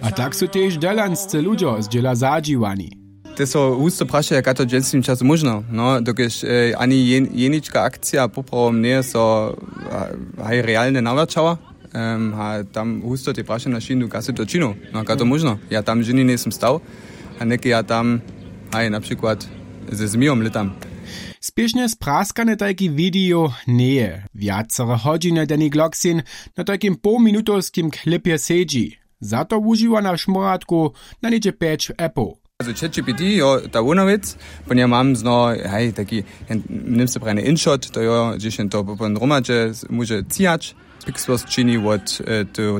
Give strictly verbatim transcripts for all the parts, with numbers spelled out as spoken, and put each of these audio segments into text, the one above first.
A tak su tež delanscy ludźo z dźěla zadźiwani. Te so husto prašaja, kaž to w dźensnim času móžno, no dokelž ani jenička akcija poprawom njeje so haj realnje nawraćała. A tam husto te prašanja šindu, kaž sy to činił, no kaž to móžno, ja tam ženi njejsym stał. A něke ja tam haj na přikład ze zmijom lětam. Spěšnje spraskane tajki video njeje wjacere hodźiny, deni gloksin na tajkim połminutowskim klipje sedźi. Za to wužiwa na šmóratku na něhdźe pjeć appow. Třeći pěti jo, ta hłowna wěc. Pon ja mam zno haj taki němsce prajene inshot, to jo, hdźež jen to pon hromadźe móže cijać. Pixburst čini wot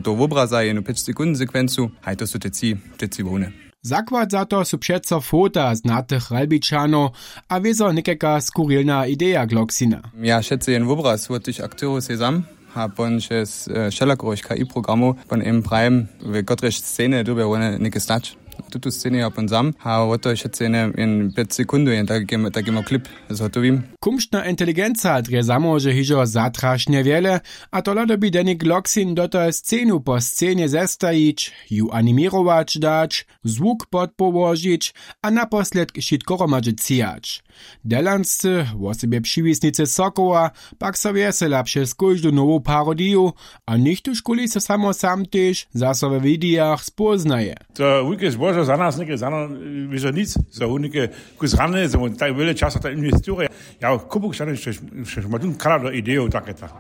toho wobraza jenu pěć sekund sekwencu. Haj to su te tři hłowne. Zakład za to su přeco fota znatych ralbičanow a wězo někajka skurilna ideja gloksina. Ja wšetcy jen wobraz wot tych akterow sejzam a pon přez wšelakorych ki programow pon jem prajim, w kotrež sceny dyrbja wone něke stać. Tutu sceny ja pon zam a wot toho wšetcy jen pjeć sekundow jen takimo klip zhotowim. Kumšna inteligenca drje zamóže hižo zatrašnje wjele. A tola dyrbi deni gloksin do toho scenu po scenje zestajić, ju animěrować dać, zwuk podpołožić a naposledk wšitko hromadźe cijać. Delanscy, wosebje přiwisnicy sokoła, pak so wjesela přez kóždu nowu parodiju. A něchtóžkuli so samo sam tež zaso we widejach spóznaje. To wulke zbožo za nas něke za nas wězo nic, zo wón něke kus rany zo wón tak wjele časa tam inwestiruje. Ja kupu kšany štož ma tón kala do idejow take tak.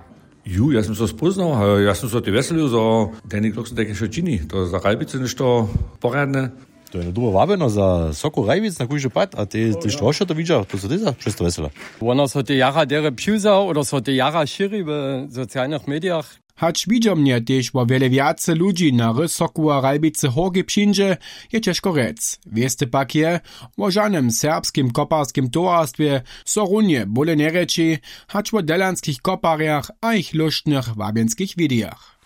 Ju, ja sym so spóznał a ja sym so te wjeselił zo deni gloksin tajke wšo čini, to za ralbicy něšto porjadne. To je dobre wabjeno za soko ralbic na kóždy pad a tež to wšo to widźa, to so tež za přez to wjesela. Wona so te jara derje přiwzał oder so te jara šěri w socialnych medijach. Hač widźomnje tež wo wjele wjace ludźi na rys sokoła ralbicy hórki přińdźe, je ćežko rjec. Wěste pak je, wo žanym serbskim koparskim towarstwje so runje bóle njerječi, hač wo delanskich koparjach a jich lóštnych wabjenskich widejach.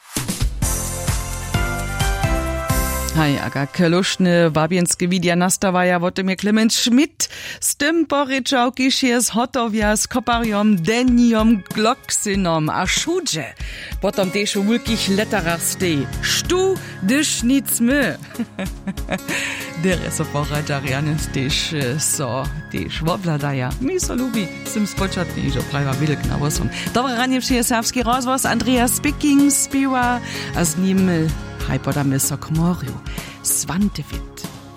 Haj, a kak lóštne wabjenske widija nastawaja, wo tym je Clement Schmidt z tym porěčał, kiž je zhotowja z koparjom Denijom Gloksinom a wšudźe. Potom tež w wulkich letarach steji: Štó, hdyž nic my? Derje so poradźa rjany tež so tež wobhladaja. Mi so lubi, sym spočatnje hižo prajiła wělk na wosom. Dobre ranje wšě, serbski rozhłos, Andreas Speaking spěwa a z nim haj podamy so k morju. Swantewit.